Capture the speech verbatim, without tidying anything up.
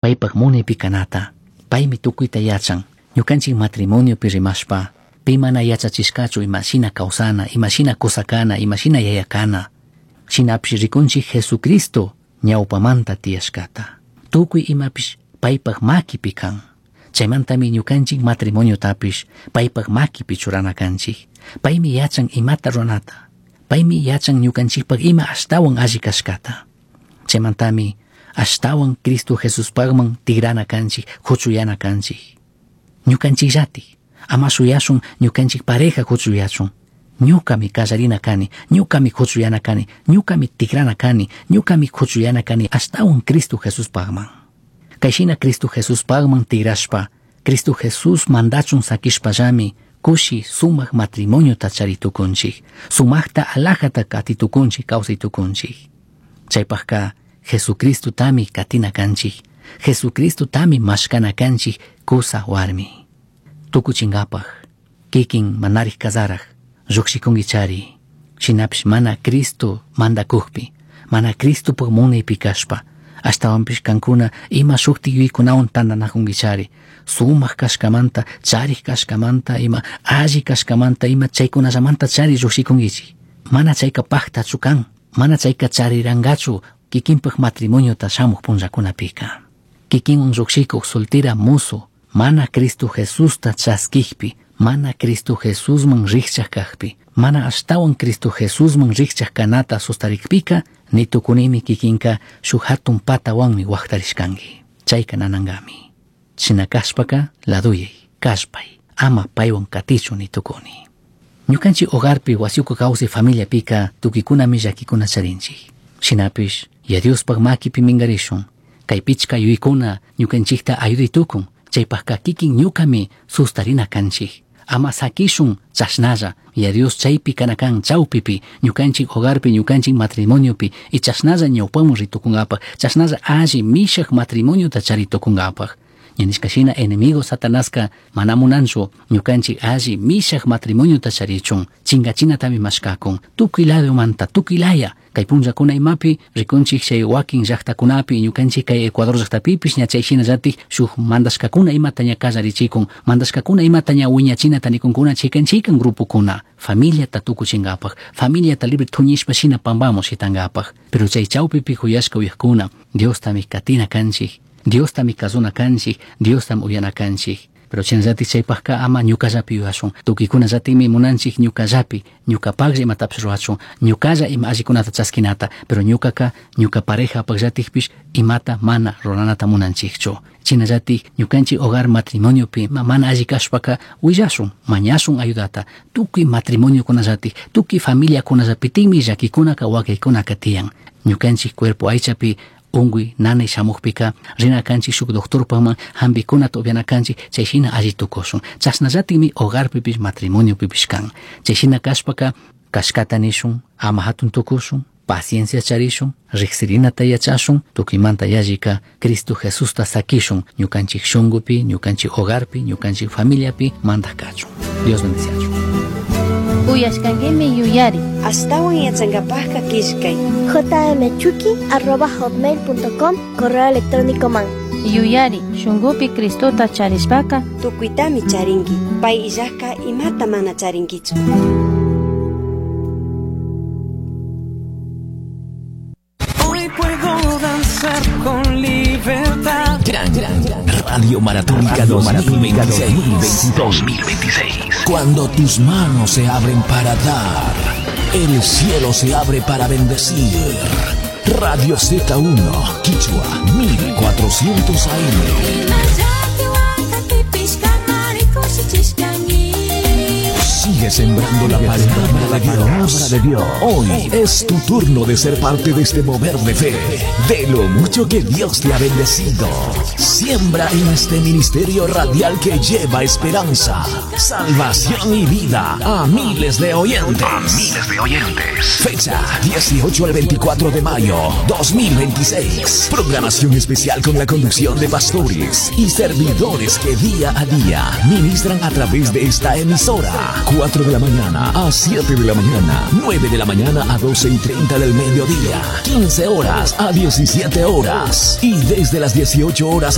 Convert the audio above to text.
Paypaq munaypi kanata, paymi tukuyta yachan, ñukanchik matrimoniopi rimashpa, pi mana yachachishkachu imashina kawsana, imashina kusakana, imashina yayakana. Shinapish rikunchik Jesucristo ñawpamanta tiyashkata. Tukuy imapish paypaq makipi kan. Chaymantami ñukanchik matrimoniotapish paypaq makipi churana kanchik. Paymi yachan imata ruranata. Paymi yachan ñukanchikpaq ima ashtawan alli kashkata. Chaymantami ashtawan Cristo Jesuspaqman tigrana kanchik, huchuyana kanchik. Ñukanchikllatik, ama shuyashun ñukanchik pareja huchuyachun. Ñukami kallarina kani, ñukami huchuyana kani, ñukami tigrana kani, ñukami huchuyana kani ashtawan Cristo Jesuspaqman. Kayshina Cristo Jesuspaqman tigrashpa, Cristo Jesús mandachun sakishpallami, kushi sumak matrimoniota charitukunchik, sumakta alajata katitukunchik, kawsaytukunchik. Chaypaqka Jesucristo tami katina kanchik, Jesucristo tami mashkana kanchik kusa warmi. Tukuchinkapaq, kikin manarik kasaraj, llukshikunkichari, shinapish mana Cristo mandakukpi, mana Cristopaq munaypi kashpa, ashtawanpish kankuna ima shukti yuyaykunawan tantanakunkichari, sumak kashkamanta, charik kashkamanta, ima alli kashkamanta, ima chaykunallamanta chari llukshikunkichik. Mana chayka paktachu kan, mana chayka charirankachu kikinpaq matrimoniota shamuq punllakunapika. Kikinwan lluqshikuq soltera musu, mana Cristo Jesusta chaskikpi, mana Cristo Jesusman rikchaq kaqpi, mana ashtawan Cristo Jesusman rikchaq kanata sustarikpika, ni tukunimi kikinka shuk hatun patawanmi waqtarishkanki. Chayka nanankami. Shina kashpaka laduyay, kashpay, ama paywan katichu ni tukuni. Ñukanchik hogarpi wasiuku kawsay familiapika tukikunami llakikuna charinchik. Shinapish, ya Diospaq makipi minkarishun, kay pichka yuykuna ñukanchikta ayuday tukun, chaypaqka kikin ñukami sustarina kanchik. Ama sakishun chashnalla, ya Dios chaypi kanakan chawpipi, ñukanchik hogarpi, ñukanchik matrimoniopi, y chashnalla ñawpaman ritukunkapaq, chashnalla alli mishaq matrimoniota charitukunkapaq. Ñanishkashina enemigo Satanaska mana munanchu ñukanchik alli mishaq matrimoniota charichun, chinkachinatami mashkakun, tukuy ladomanta, tukuy laya, kay punllakuna imapi rikunchik chay wakin llaqtakunapi, ñukanchik kay Ecuador llaqtapipish ña chay shinallatik shuk mandashkakuna imata ña kallarichikun, mandashkakuna imata ña wiñachinata nikunkuna chikan chikan grupokuna, familiata tukuchinkapaq, familiata libre thuñishpa shina pampamun shitankapaq. Pero chay chawpipi huyashka uyaqkuna, Diostami katina kanchik, Diostami kasuna kanchik, Diostam uyana kanchik. Pero chayllatik chaypaqka ama ñukallapi yuyashun, tukuykuna-llatikmi munanchik ñukallapi, ñukapaqlla imatapish ruwachun, ñukalla ima allikunata chaskinata, pero ñukaka ñuka parejapaqllatikpish imata mana ruranata munanchikchu. Chinallatik ñukanchik hogar matrimoniopi mana alli kashpaka willashun, mañashun ayudata, tukuy matrimoniokunallatik, tukuy familiakunallapitikmi llakikunaka wakaykunaka tiyan. Ñukanchik cuerpo aychapi unkuy nanay shamuqpika rina kanchik shuk doctorpaqman hampikunata upyana kanchik, chay shina alli tukushun. Chashnallatikmi hogarpipish matrimoniopipish kan. Chay shina kashpaka kashkata nishun, ama hatun tukushun, paciencia charishun, riqsirinata yachashun, tukuymanta yallika Cristo Jesusta sakishun ñukanchik shunkupi, ñukanchik hogarpi, ñukanchik familiapi mandaq kachun. Dios bendiciachun. Uyashkankimi yuyari. Ashtawan yachankapaqqa killkay. jmchuki arroba hotmail punto com correo electrónico man. Yuyari, shunkupi Cristota charishpaka tukuytami charinki, pay illajka imata mana charinkichu. Hoy puedo danzar con libertad. Gran, gran, gran Radio Maratónica dos mil veintiséis. dos mil veintiséis. Cuando tus manos se abren para dar, el cielo se abre para bendecir. Radio Z uno, Quichua, mil cuatrocientos A M. Sigue sembrando la palabra de Dios. de Dios. Hoy es tu turno de ser parte de este mover de fe, de lo mucho que Dios te ha bendecido. Siembra en este ministerio radial que lleva esperanza, salvación y vida a miles de oyentes. A miles de oyentes. Fecha dieciocho al veinticuatro de mayo dos mil veintiséis. Programación especial con la conducción de pastores y servidores que día a día ministran a través de esta emisora. cuatro de la mañana a siete de la mañana, nueve de la mañana a doce y treinta del mediodía, quince horas a diecisiete horas y desde las dieciocho horas